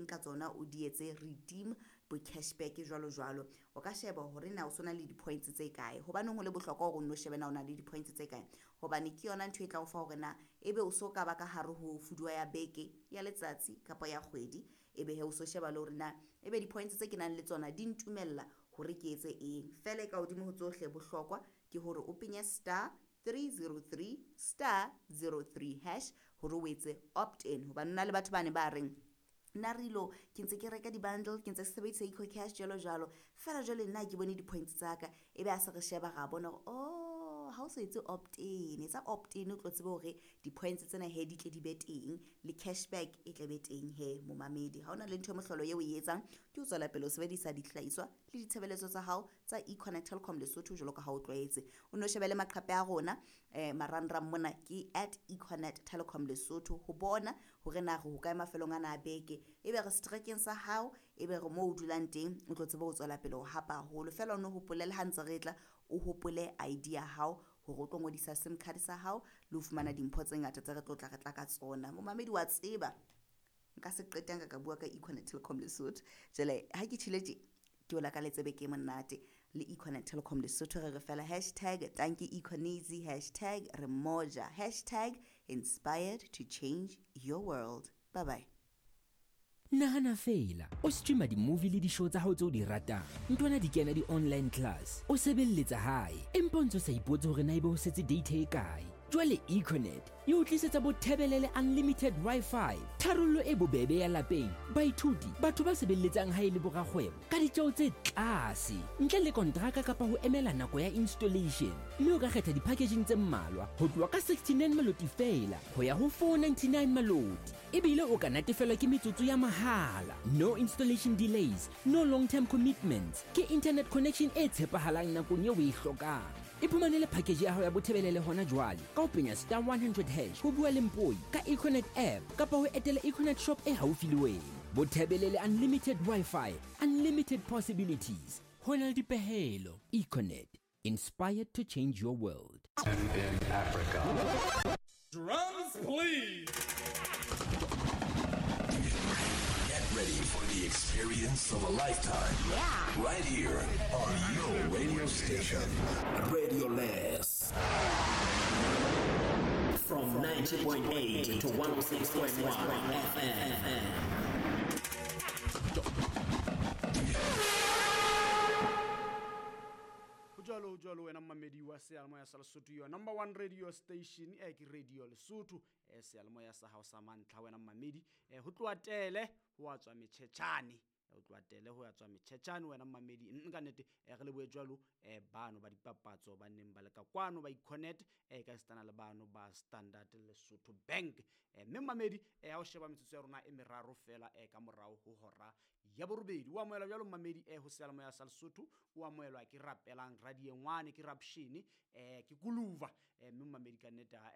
ka tsona o di etse redeem bo cashback jwalo jwalo. O ka sheba hore na o sona le di-points tse kae. Hobaneng ho le bohlokwa hore o nno shebe na o na le di-points tse kae? Hobane ke yona ntho e tla o fa hore na ebe o so ka ba ka hare ho fuduwa ya beke, ya letsatsi kapa ya kgwedi. Ebe he o so sheba le hore na ebe di-points tse ke nang le tsona di ntumella hore ke etse eng. Feela e ka hodimo ho tsohle bohlokwa ke hore o penye star 303 star 03 hash hore o etse opt in. Hobane hona le batho bane ba reng nna rilo ke ntse ke reka di-bundle, ke ntse ke sebedisa EcoCash jwalo jwalo, feela jwale nna ke bone di-points tsa ka. Ebe ha se re sheba ra bona hore oh, ha o so etse opt in, etsa opt in o tlo tsebe hore di-points tsena he di tle di be teng le cashback e tle be teng he momamedi. Ha hona le ntho e mohlolo eo e etsang ke ho tswela pele o sebedisa dihlahiswa le ditshebeletso tsa hao tsa Econet Telkom Lesotho jwalo ka ha o tlwaetse. O no shebele maqhape a rona marangrang mona ke at Econet Telkom Lesotho ho bona hore na re hokae mafelong ana a beke. Ebe re setrekeng sa hao, ebe re moo o dulang teng, o tlo tsebe ho tswela pele ho hapa haholo. Feela o no hopole le ha ntse re tla, o hopole ID ya hao hore o tlo ngodisa SIM card sa hao le ho fumana dimpho tse ngata tse re tlo tla re tla ka tsona. Momamedi wa tseba nka se qetang ka ka bua ka Econet Telkom Lesotho. Jwale ha ke tjhile tje ke o lakaletse beke e monate le Econet Telkom Lesotho. Re re fela hashtag tanki Econezi, hashtag re moja, hashtag inspired to change your world. Bye bye. Nahana feela, o streama di-movie le di-show tsa hao tse o di ratang, ntwana di kena di-online class, o sebelletsa hae, empa o ntse o sa ipotse hore na ebe ho setse data e kae. Jwale Econet e o tlisetsa bothebelele unlimited Wi-Fi, tharollo e bobebe ya lapeng, baithuti, batho ba sebelletsang hae le borakgwebo ka ditjeo tse tlase, ntle le kontraka kapa ho emela nako ya installation. Mme o ka kgetha di-packaging tse mmalwa ho tloha ka 69 maloti feela ho ya ho 499 maloti. Ebile o ka natefelwa ke metsotso ya mahala. No installation delays, no long-term commitments. Ke internet connection e tshepahalang nakong eo o e hlokang. Iphumanele package ya hao ya bothebelele hona jwale ka ho penya star 100 hash ho bua le Mpoi ka Econet app kapa ho etela Econet shop e haufi le wena. Bothebelele unlimited Wi-Fi, unlimited possibilities. Ho na le dipehelo. Econet, inspired to change your world. In Africa. Drums, please. Get ready for the experience of a lifetime. Yeah. Right here on your radio station, Radio Les. From 90.8 to 106.1 FM. Ho jwalo, ho jwalo wena mmamedi wa seyalemoya sa Lesotho, your number one radio station, ke Radio Lesotho, seyalemoya sa hao sa mantlha wena mmamedi. Ho tloha tele ho a tswa metjhetjhane, ho tloha tele ho a tswa metjhetjhane wena mmamedi. Ka nnete, re lebohe jwalo, bano ba dipapatso ba neng ba le ka kwano ba Econet, ka esitana le bano ba Standard Lesotho Bank. Mme mmamedi, ha o sheba metsotso ya rona e meraro fela, ka morao ho hora ya borobedi. O amohelwa jwalo mmamedi, ho seyalemoya sa Lesotho, o amohelwa ke Rapelang Radiengwane, ke Rapshene, ke Kuluva. Mme mmamedi ka nnete, ha,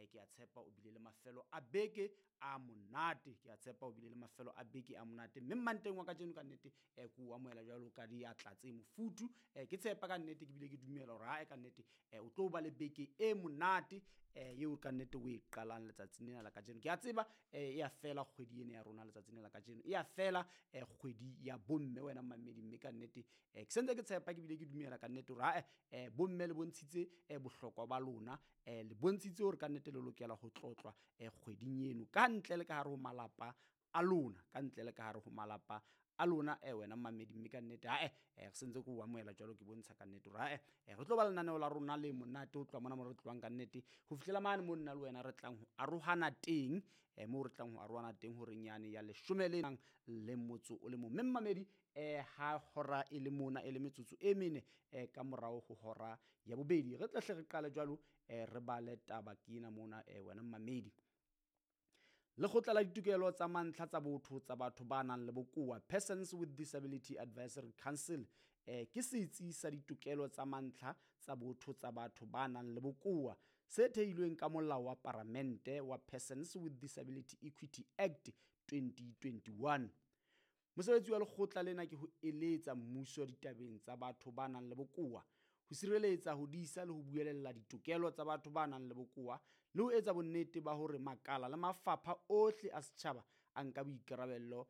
ke a tshepa o bile le mafelo a beke a monate, ke a tshepa o bile le mafelo a beke a monate. Mme mmanteng wa kajeno ka nnete, ke o amohela jwalo ka diatla tse mofuthu. Ke tshepa ka nnete, ke bile ke dumela hore ha, ka nnete, o tlo ba le beke e monate, eo ka nnete o e qalang letsatsing lena la kajeno. Ke a tseba, e a fela kgwedi ena ya rona letsatsing lena la kajeno, e a fela, kgwedi ya bomme wena mmamedi. Mme ka nnete, ke sentse ke tshepa ke bile ke dumela ka nnete hore ha, bomme le bontshitse, bohlokwa ba lona, le bontshitse hore ka nnete le lokela ho tlotlwa, kgweding eno ka ntle le ka hare ho malapa a lona, ka ntle le ka hare ho malapa a lona, wena mmamedi. Mme ka nnete, ha, re sentse ke o amohela jwalo, ke bontsha ka nnete hore ha, re tlo ba lenaneo la rona le monate ho tloha mona mo re tlohang ka nnete ho fihlela mane mo nna le wena re tlang ho arohana teng, moo re tlang ho arohana teng horeng yane ya leshome le nang le motso o le mong. Mme mmamedi, ha hora e le mona e le metsotso e mene, ka morao ho hora ya bobedi, re tla hle re qale jwalo, re bale taba ke ena mona, wena mmamedi. Lekgotla la ditokelo tsa mantlha tsa botho tsa batho ba nang le bokowa, Persons with Disability Advisory Council, ke setsi sa ditokelo tsa mantlha tsa botho tsa batho ba nang le bokowa se theilweng ka molao wa paramente wa Persons with Disability Equity Act 2021. Mosebetsi wa lekgotla lena ke ho eletsa mmuso ditabeng tsa batho ba nang le bokowa, ho sireletsa, ho disa le ho buelella ditokelo tsa batho ba nang le bokowa, le ho etsa bonnete ba hore makala le mafapha ohle a setjhaba a nka boikarabello